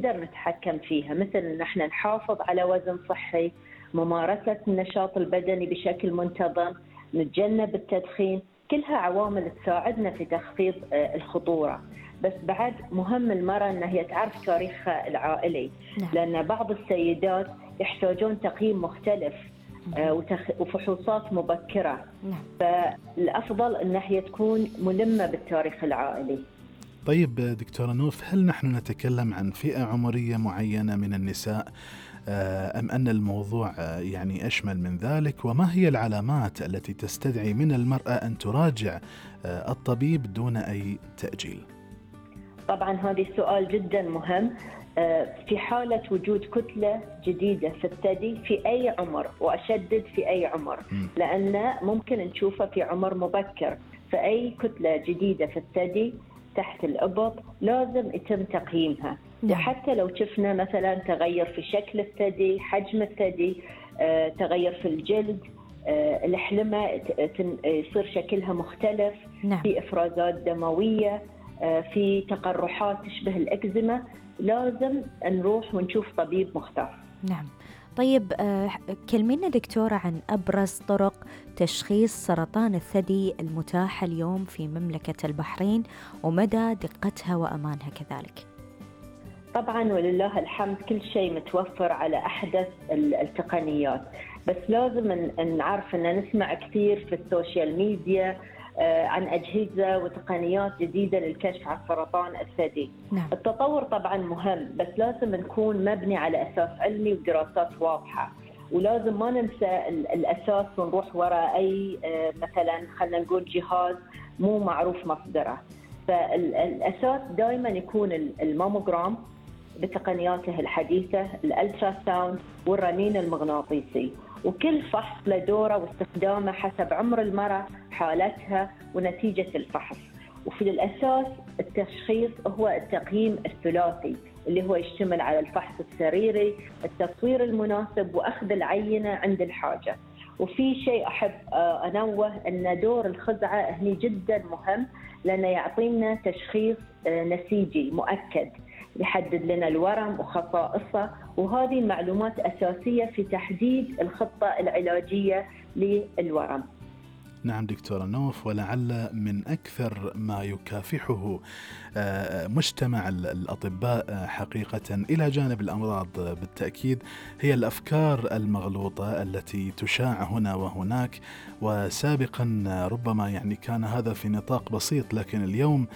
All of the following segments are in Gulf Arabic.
نقدر نتحكم فيها، مثل إن احنا نحافظ على وزن صحي، ممارسة النشاط البدني بشكل منتظم، نتجنب التدخين، كلها عوامل تساعدنا في تخفيض الخطورة. بس بعد مهم المرأة أنها هي تعرف تاريخها العائلي، نعم. لأن بعض السيدات يحتاجون تقييم مختلف وفحوصات مبكرة. نعم. فالأفضل أنها هي تكون ملمة بالتاريخ العائلي. طيب دكتورة نوف، هل نحن نتكلم عن فئة عمرية معينة من النساء أم أن الموضوع يعني أشمل من ذلك؟ وما هي العلامات التي تستدعي من المرأة أن تراجع الطبيب دون أي تأجيل؟ طبعا هذا سؤال جدا مهم. في حالة وجود كتلة جديدة في الثدي في أي عمر، وأشدد في أي عمر، لأن ممكن نشوفها في عمر مبكر، فأي كتلة جديدة في الثدي تحت الإبط لازم يتم تقييمها. وحتى لو شفنا مثلا تغير في شكل الثدي، حجم الثدي، تغير في الجلد، الحلمة يصير شكلها مختلف، في إفرازات دموية، في تقرحات تشبه الإكزيما، لازم نروح ونشوف طبيب مختص. نعم. طيب كلمينا دكتورة عن أبرز طرق تشخيص سرطان الثدي المتاحة اليوم في مملكة البحرين ومدى دقتها وأمانها كذلك. طبعا ولله الحمد كل شيء متوفر على أحدث التقنيات، بس لازم نعرف أن نسمع كثير في السوشيال ميديا عن أجهزة وتقنيات جديدة للكشف عن سرطان الثدي. نعم. التطور طبعا مهم، بس لازم نكون مبني على أساس علمي ودراسات واضحة، ولازم ما ننسى الأساس ونروح وراء أي مثلا خلنا نقول جهاز مو معروف مصدره. فالأساس دائما يكون الماموغرام بتقنياته الحديثة، الألترا ساوند والرنين المغناطيسي، وكل فحص له دوره واستخدامه حسب عمر المرأة، حالتها ونتيجة الفحص. وفي الأساس التشخيص هو التقييم الثلاثي اللي هو يشتمل على الفحص السريري، التصوير المناسب، وأخذ العينة عند الحاجة. وفي شيء أحب أنوه أن دور الخزعة هني جدا مهم، لأنه يعطينا تشخيص نسيجي مؤكد يحدد لنا الورم وخصائصه، وهذه معلومات أساسية في تحديد الخطة العلاجية للورم. نعم دكتورة نوف، ولعل من أكثر ما يكافحه مجتمع الأطباء حقيقة إلى جانب الأمراض بالتأكيد هي الأفكار المغلوطة التي تشاع هنا وهناك. وسابقا ربما يعني كان هذا في نطاق بسيط، لكن اليوم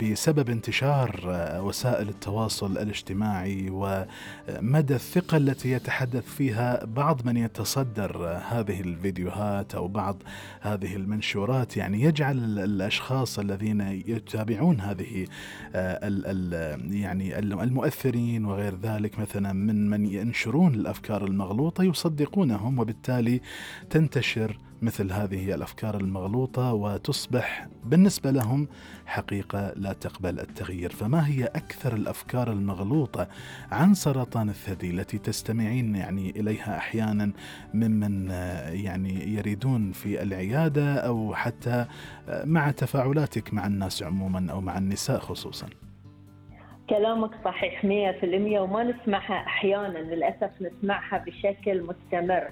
بسبب انتشار وسائل التواصل الاجتماعي ومدى الثقة التي يتحدث فيها بعض من يتصدر هذه الفيديوهات أو بعض هذه المنشورات، يعني يجعل الأشخاص الذين يتابعون هذه يعني المؤثرين وغير ذلك مثلا من ينشرون الأفكار المغلوطة يصدقونهم، وبالتالي تنتشر مثل هذه الأفكار المغلوطة وتصبح بالنسبة لهم حقيقة لا تقبل التغيير. فما هي أكثر الأفكار المغلوطة عن سرطان الثدي التي تستمعين يعني إليها أحيانا ممن يعني يريدون في العيادة أو حتى مع تفاعلاتك مع الناس عموما أو مع النساء خصوصا؟ كلامك صحيح 100%، وما نسمعها أحيانا، للأسف نسمعها بشكل مستمر.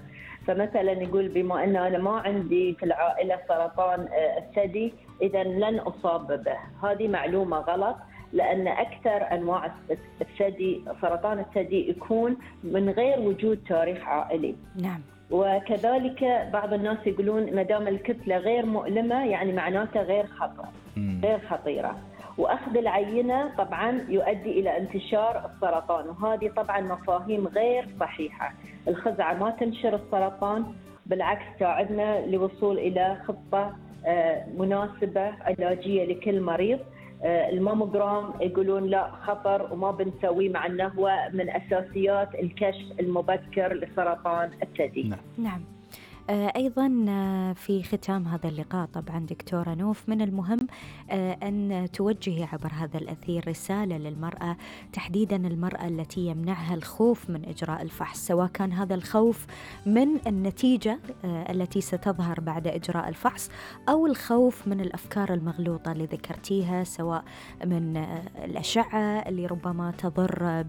فمثلا يقول بما أن أنا ما عندي في العائلة سرطان الثدي إذا لن أصاب به. هذه معلومة غلط، لأن أكثر أنواع الثدي سرطان الثدي يكون من غير وجود تاريخ عائلي. نعم. وكذلك بعض الناس يقولون ما دام الكتلة غير مؤلمة يعني معناته غير خطيرة. وأخذ العينة طبعا يؤدي إلى انتشار السرطان، وهذه طبعا مفاهيم غير صحيحة. الخزعة ما تنشر السرطان، بالعكس تساعدنا للوصول إلى خطة مناسبة علاجية لكل مريض. الماموغرام يقولون لا خطر وما بنسويه، مع أنه هو من أساسيات الكشف المبكر لسرطان الثدي. نعم. أيضا في ختام هذا اللقاء طبعا دكتورة نوف، من المهم أن توجهي عبر هذا الأثير رسالة للمرأة، تحديدا المرأة التي يمنعها الخوف من إجراء الفحص، سواء كان هذا الخوف من النتيجة التي ستظهر بعد إجراء الفحص، أو الخوف من الأفكار المغلوطة اللي ذكرتيها، سواء من الأشعة اللي ربما تضر